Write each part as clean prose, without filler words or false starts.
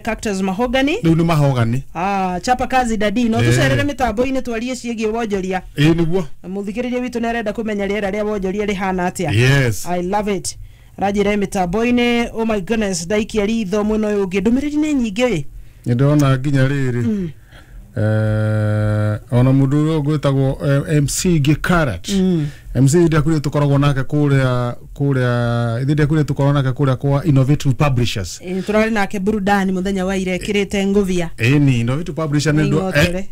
Cactus Mahogany. Rĩu nĩ mahogany. Ah, chapa kazi dadi no tucerere mitambo-inĩ twarie ciĩgiĩ wonjoria. Ĩĩ nĩguo. Mũthikĩrĩria witũ nĩarenda kũmenya rĩera rĩa wonjoria rĩhana atĩa. Yes. I love it. Aranjĩra mĩtambo-inĩ, oh my goodness, ndaikia ritho mwena ũyũ ũngĩ, ndũmĩrĩri nĩ nyingĩ ĩ. Nĩ ndĩrona nginya rĩrĩ ona mũndũ ũyũ ũgwĩtagwo MC Gikarat. MC Ndiakuire tũkoragwo nake kũrĩa ithe Ndiakuire tũkoragwo nake kũrĩa kwa Innovative Publishers. Ĩ, tũrarĩ nake burudani mũthenya wa ira ĩkĩrĩte ngũbia. Ĩni Innovative Publishers nĩ Nĩ ing'otore.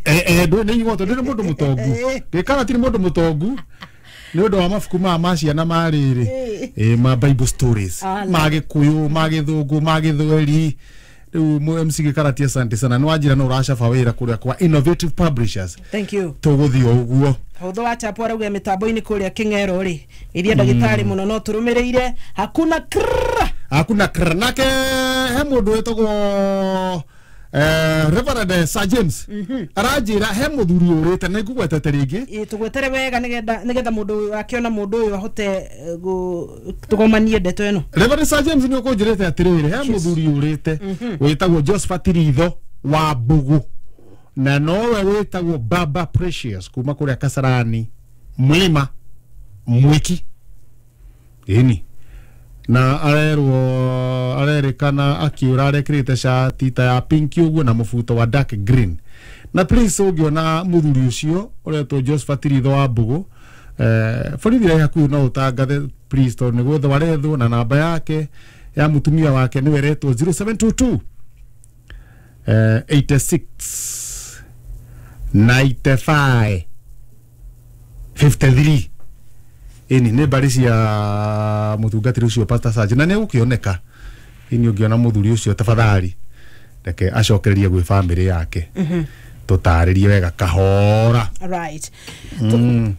Nĩ ing'otore, nĩ mũndũ mũtongu. Gikarat nĩ mũndũ mũtongu nĩ ũndũ wa mabuku maya ma ciana ma rĩrĩ ma Bible stories ma Gĩkũyũ, ma Gĩthũngũ, ma Gĩthweri. Rĩu MC Gĩkarati, asante sana, nĩ wanjĩra no ũracaba wĩra kũrĩa kwa Innovative Publishers. Thank you. Tũgũthiĩ o ũguo. Hũthũ wa chapo arauga mĩtambo-inĩ kũrĩa Kĩng'ero rĩ, iria ndagĩtarĩ mũno no tũrũmĩrĩire, hakuna krrr. Hakuna krrr. Nake he mũndũ wĩtagwo Reverend Sir James aranjĩra he mũthuri ũrĩte na ngũgwetete rĩngĩ. Ĩ, tũgwetere wega nĩgetha mũndũ akĩona mũndũ ũyũ ahote tũgomanie ndeto ĩno. Reverend Sir James nĩ ũkũnjĩrĩte atĩrĩrĩ, he mũthuri ũrĩte wĩtagwo Josephat Ritho wa Mbugu na nowe wĩtagwo Baba Precious kuma kũrĩa Kasarani Mlima Mwiki. Ĩni na arerwo arerĩkana akiũra arekĩrĩte cati ta ya pink ũguo na mũbuto wa dark green. Na please ũngĩona mũthuri ũcio ũretwo Josephat Ritho wa Mbugu, borithi ĩrĩa hakuhĩ no ũtangathe please, tondũ nĩ gwethwo arethwo, na namba yake ya mũtumia wake nĩwe ĩretwo 0722 86 95 53. Ĩni nĩ mbari cia mũtungatĩri ũcio Pastor Serge, na nĩ egũkĩoneka. Ĩni ũngĩona mũthuri ũcio tafadhali reke acokererie gwĩ bamĩrĩ yake, tũtarĩrie wega kahora. Right.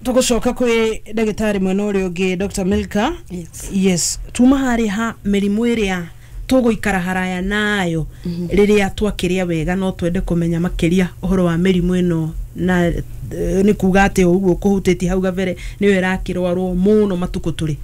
Tũgũcoka kwĩ ndagĩtarĩ mwena ũrĩa ũngĩ, Dr. Milka. Yes. Yes, tuma harĩ ha mĩrimũ ĩrĩa tũgũikara haraya nayo rĩrĩa twakĩrĩa wega, no twende kũmenya makĩria ũhoro wa mĩrimũ ĩno, na nĩ kuga atĩ o ũguo kũhutĩtie hau gabere nĩyo ĩrakĩrwarwo mũno matukũ tũrĩ.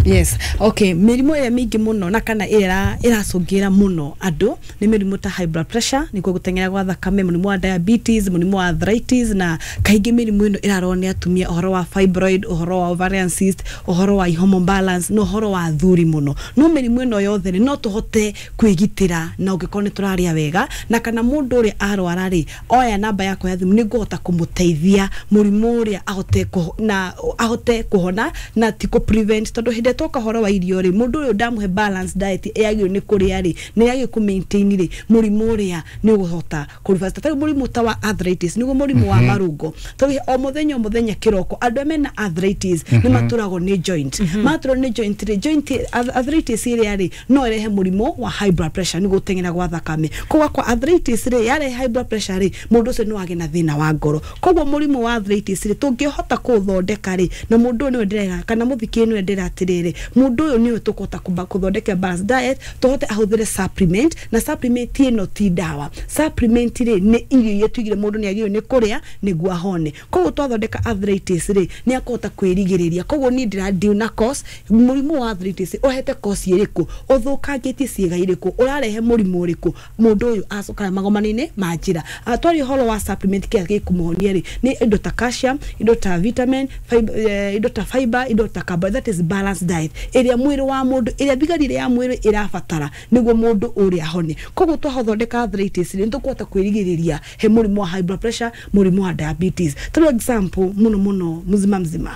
Yes, okay, mĩrimũ ĩrĩa mĩingĩ mũno na kana ĩrĩa ĩracũngĩra mũno andũ nĩ mĩrimũ ta high blood pressure, nĩkuo gũteng'era gwa thakame, mũrimũ wa diabetes, mũrimũ wa arthritis, na kaingĩ mĩrimũ ĩno ĩrarorwo nĩ atumia, ũhoro wa fibroid, ũhoro wa ovarian cyst, ũhoro wa hormone balance na ũhoro wa athuri mũno. No mĩrimũ ĩno yothe rĩ, no tũhote kwĩgitĩra na ũngĩkorwo nĩ tũrarĩa wega, na kana mũndũ ũrĩa arwara rĩ, oya namba yakwa ya thimũ, nĩ ngũhota kũmũteithia mũrimũ ũrĩa ahote na ahote kũhona na ti kũ prevent, tondũ hĩndĩ ĩrĩa twoka ũhoro wa irio rĩ, mũndũ ũyũ ndamũhe balanced diet ĩyagĩrĩirwo nĩ kũrĩa rĩ, nĩ yagĩrĩirwo kũ maintain rĩ, mũrimũ ũrĩa nĩ ũgũhota kũ reverse. Ta rĩu mũrimũ ta wa arthritis, nĩguo mũrimũ wa marũngo, tondũ o mũthenya o mũthenya kĩroko andũ arĩa mena arthritis nĩ matũragwo nĩ joint, matũrwo nĩ joint rĩ, joint arthritis ĩrĩa rĩ no ĩrehe mũrimũ wa high blood pressure, nĩguo gũteng'era gwa thakame. Koguo kwa arthritis rĩ, yarehe high blood pressure rĩ, mũndũ ũcio no agĩe na thĩna wa ngoro. Koguo mũrimũ wa arthritis rĩ, tũngĩhota kũũthondeka rĩ, na mũndũ ũyũ nĩwe ndĩrera kana mũthikĩrĩria nĩwe ndĩra atĩrĩrĩ, mũndũ ũyũ nĩwe tũkũhota kũthondeka balanced diet, tũhote ahũthĩre supplement, na supplement ĩno ti ndawa. Supplement rĩ, nĩ irio iria tuigire mũndũ nĩ agĩrĩirwo nĩ kũrĩa nĩguo ahone. Koguo twathondeka arthritis rĩ, nĩ akũhota kwĩrigĩrĩria. Koguo niĩ ndĩra deal na cause. Mũrimũ wa arthritis ũhete cause ĩrĩkũ, ũthũkangĩtie ciĩga irĩkũ, ũrarehe mũrimũ ũrĩkũ, mũndũ ũyũ acokaga magomano-inĩ ma njĩra. Twaria ũhoro wa supplement kĩrĩa gĩkũmũhonia rĩ, nĩ indo ta calcium, indo ta vitamin fiber, indo ta fiber, indo ta carbohydrate, that is balanced diet ĩrĩa mwĩrĩ wa mũndũ, ĩrĩa thigari ĩrĩa ya mwĩrĩ ĩrabatara nĩguo mũndũ ũrĩa ahone. Koguo twathondeka arthritis rĩ, nĩ tũkũhota kwĩrigĩrĩria he mũrimũ wa high blood pressure, mũrimũ wa diabetes. Tũrĩ example mũno mũno mzima mzima,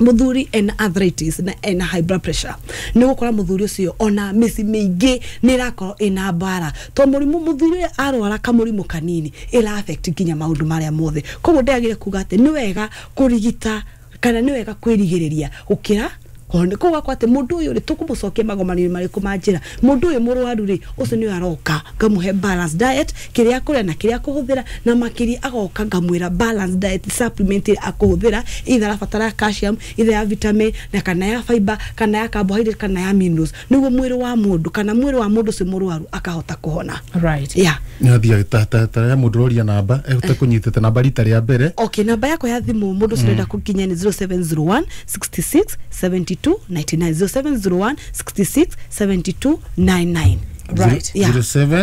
muthuri ena arthritis na ena high blood pressure, nĩ gũkora muthuri ũcio ona mĩciĩ mĩingĩ nĩ ĩrakorwo ĩna mbara, to mũrimũ mũthuri ũrĩa arwara kamũrimũ kanini ĩra affect nginya maũndũ marĩa mothe. Koguo ndĩragĩre kuga atĩ nĩ wega kũrigita kana nĩ wega kwĩrigĩrĩria gũkĩra kũhona. Koguo akwa atĩ mũndũ ũyũ rĩ, tũkũmũcokia magomano-inĩ marĩkũ ma njĩra? Mũndũ ũyũ mũrwaru rĩ, ũcio nĩwe aroka ngamũhe balanced diet, kĩrĩa akũrĩa na kĩrĩa akũhũthĩra, na makĩria agoka ngamwĩra balanced diet supplement ĩrĩa akũhũthĩra, either arabatara calcium, either ya vitamin na kana ya fiber, kana ya carbohydrate, kana ya minerals, nĩguo mwĩrĩ wa mũndũ kana mwĩrĩ wa mũndũ ũcio mũrwaru akahota kũhona. Right. Yeah. Nĩathiaga ta ya mũndũ ũroria namba egũtekũnyitĩte namba rita rĩa mbere. Okay, namba yakwa ya thimũ mũndũ ũcio ũrenda kũnginya nĩ 0701 66 72 99, 0701 66 72 99. Right. Yeah. 07.